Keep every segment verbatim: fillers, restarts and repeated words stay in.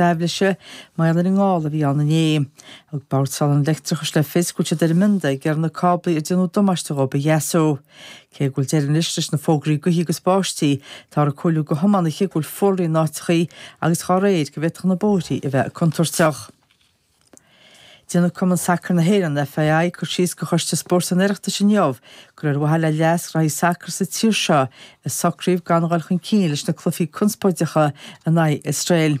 lucht aibhléise mar gheall ar an ngála a bhí ann inné. Thug Bord Soláthair an Leictreachais le fios go bhfuil siad ar an mbionda ag iarraidh na cáblaí a déanadh damáiste dhóibh a dheasú. Cé go bhfuil deireadh anois leis na fógraí gaoithe agus báistí, táthar ag comhairliú do thiománaithe go bhfuil fuarlaigh in áiteachaí agus dá réir go bhféadfadh na bóithrí a bheith contúirteach. Déanfaidh Cumann Sacair na hÉireann, FAI, cur síos do Choiste Spóirt an Oireachtais inniu gur ar mhaithe le leas ghraithí sacair sa tír seo a socraíodh gan dhul chun cinn leis na cluichí conspóideacha in aghaidh Iosrael.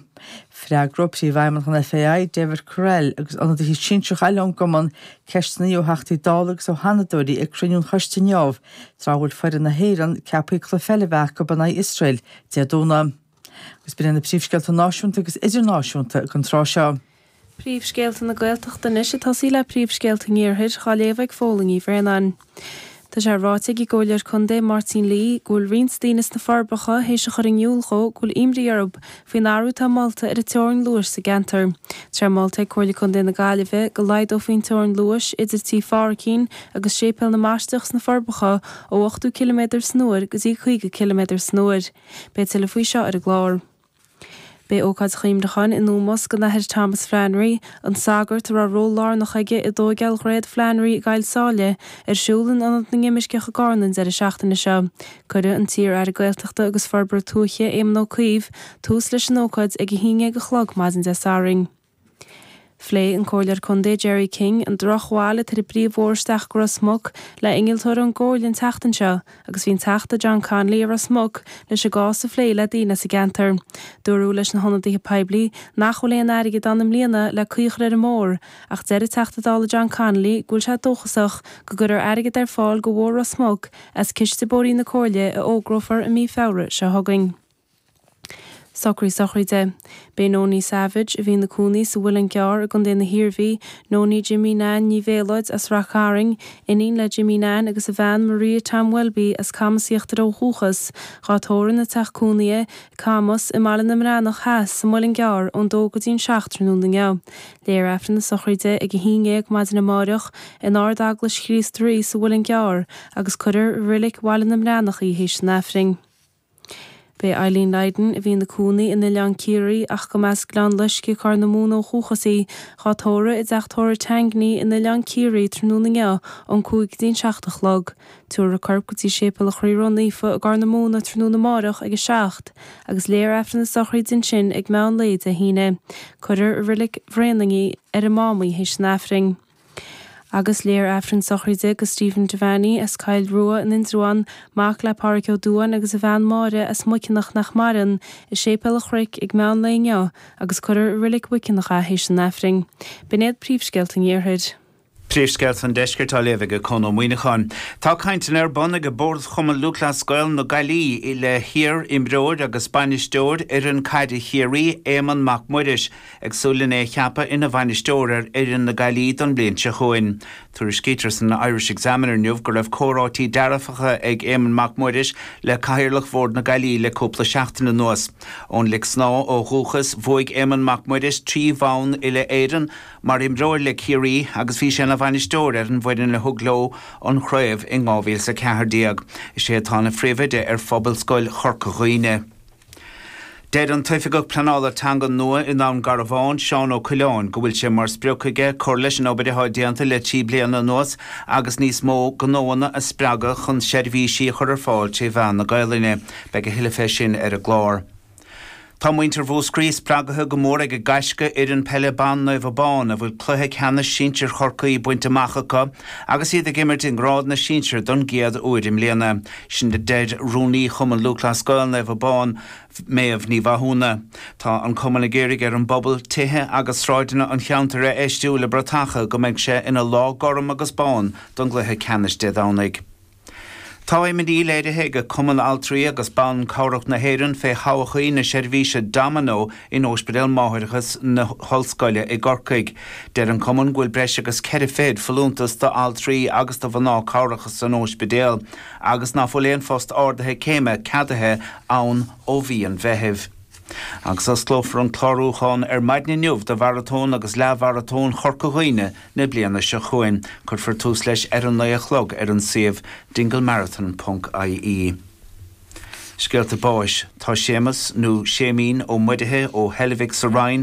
Freagróidh Príomhfheidhmeannach an FAI, David Courell, agus ionadaithe sinsearacha eile ón gcumann ceisteanna ó Theachtaí Dála agus ó Sheanadóirí ag cruinniú an choiste inniu, tráth a bhfuil foireann na hÉireann ceaptha cluiche eile a bheith acu in aghaidh Iosrael Dé Domhnaigh. Agus b'in iad na príomhscéalta náisiúnta agus idirnáisiúnta don tráth seo. Príomhscéalta na Gaeltachta anois ag tosaí le príomhscéalta an Iarthair á léamh ag Fódhla Ní Bhraonáin. Tá sé ráite ag an gComhairleoir Contae Máirtín Lee go bhfuil roinnt daoine sna Forbacha théis a chur in iúl dhó go bhfuil imní orthu faoin athrú atá molta ar an teorainn luais sa gceantar. Tá sé molta ag Comhairle Contae na Gaillimhe go laghdófaí an teorainn luais idir Tí Pháraicín agus Séipéal na mBaisteach sna Forbacha ó ochtó ciliméadar san uair go dtí caoga ciliméadar san uair. Beidh tuilleadh faoi seo ar an gclár. Beidh ócáid chuimhneacháin in ómós don Athair Thomas Flannery, an sagart a raibh ról lárnach aige i dtógáil Dhroichead Flannery i gCoill Sáile, ar siúl in Ionad na nImirceach i gCarna an deireadh seachtaine seo. Cuirfidh an t-iar-aire Gaeltachta agus Forbartha Tuaithe Éamon Ó Cuív tús leis an ócáid ag a haon déag a chlog maidin Dé Sathairn. Phléigh an Comhairleoir Contae Jerry King an drochbhail atá ar an bpríomhbhóthar isteach go Ros Muc le innealtóir ón gComhairle an tseachtain seo agus bhí an Teachta John Connolly i Ros Muc leis an gcás a phlé le daoine sa gceantar. Dúradh leis na hionadaithe poiblí nach bhfuil aon airgead ann i mbliana le caoi a chur ar an mbóthar, ach deir an Teachta Dála John Connolly go bhfuil sé dóchasach go gcuirfear airgead ar fáil do Bhóthar Ros Muc as ciste bóithrí na Comhairle a fhógrófar i mí Feabhra seo chugainn. Socruithe sochraide. Beidh Nonie Savage a bhí ina cónaí sa Mhuileann gCearr i gContae na hIarmhí, Nonie Jimmy Nan Ní Bhéaloid as Rath Cairn, iníon le Jimmy Nan agus a bhean Maria Tom Welby as Camas Íochtar ó dhúchas, dhá tórramh ina teach cónaithe, Camas i mBaile na mBreathnach Theas sa Mhuileann gCearr ón dó go dtí an seacht tráthnóna inniu. Léifear Aifreann na sochraide ag a haon déag maidin amárach in Ard-Eaglais Chríost Rí sa Mhuileann gCearr agus cuirfear i Reilig Bhaile na mBreathnach í théis an Aifrinn. Beidh Eileen Lydon a bhí ina cónaí in Oileán Ciarraí ach go mba as Gleann Loisce Corr na Móna ó dhúchas í, dhá tórramh i dteach tórraimh Tangney in Oileán Ciarraí tráthnóna inniu ón cúig go dtí an seacht a chlog. Tabharfar a corp go dtí Séipéal an Chroí Ró-Naofa i gCorr na Móna tráthnóna amárach ag a seacht, agus léifear Aifreann na sochraide ansin ag meán lae Dé hAoine. Cuirfear i Reilig Bhréanainn í ar an Mámaí théis an Aifrinn. Agus léifear Aifreann sochraide do Stephen Devaney as Cill Rua in Indreabhán, mac le Pádraig Ó Dúáin agus a bhean Máire as Muiceanach nach maireann, i Séipéal an Chnoic ag meán lae inniu agus cuirfear i Reilig Mhuiceanach é théis an Aifrinn. B'in iad príomhscéalta an Iarthair. Príomhscéalta an Deiscirt á léamh ag Conn Ó Muíneacháin. Tá cainteanna ar bun ag Bord Chumann Lúthchleas Gael na Gaillimhe le hiar-imreoir agus bainisteoir fhoireann caide Chiarraí Éamonn Mac Muiris ag súil lena cheapadh ina bhainisteoir ar fhoireann na Gaillimhe don bhliain seo chugainn. Tuairiscítear san Irish Examiner inniu go raibh comhráití dearfacha ag Éamonn Mac Muiris le cathaoirleach Bhord na Gaillimhe le cúpla seachtain anuas. Ón Lic Snámha ó dhúchas bhuaigh Éamonn Mac Muiris trí bhonn uile Éireann mar imreoir le Ciarraí agus bhí sé ina bhainisteoir ar an bhfoireann a thug leo an chraobh in dhá mhíle a ceathair déag. Is é atá ina phríomhoide ar Phobalscoil Chorca Dhuibhne. Deir an tOifigeach Pleanála Teanga nua i nDún Garbhán, Seán Ó Coileáin, go bhfuil sé mar sprioc aige cur leis an obair atá déanta le trí bliana anuas agus níos mó gnóanna a spreagadh chun seirbhísí a chur ar fáil trí mheán na Gaelainne. Beidh a thuilleadh fé sin ar an gclár. Tá muintir Mhúscraí spreagtha go mór ag a gaisce fhoireann peile ban Naomh Abán a bhfuil cluiche ceannais sinsir Chorcaí bainte amach acu agus iad ag imirt i ngrád na sinsear don gcéad uair i mbliana. Sin a deir rúnaí Chumann Lúthchleas Gael Naomh Abán Méabh Ní Mhathúna. Tá an cumann ag iarraidh ar an bpobal tithe agus sráideanna an cheantair a fheistiú le bratacha go mbeidh sé ina lá gorm agus bán don gcluiche ceannais Dé Domhnaigh. Tá imní léirithe ag Cumann Altraí agus Ban Cabhrach na hÉireann fé thodhchaí na seirbhíse Domino in Ospidéal Máithreachais na hOllscoile i gCorcaigh. Deir an cumann go bhfuil breis agus ceithre fichid folúntas d'altraí agus do mhná cabhracha san ospidéal, agus ná fuil aon phost ardaithe céime ceadaithe ann ó mhí an Mheithimh. Agus osclófar an clárúchán ar maidin inniu do mharatón agus leathmharatón Chorca Dhuibhne na bliana seo chugainn. Cuirfear tús leis ar an naoi a chlog ar an suíomh dinglemarathon.ie. Scéalta báis tá Séamus nó Séimín Ó Muirithe ó Heilbhic sa Rinn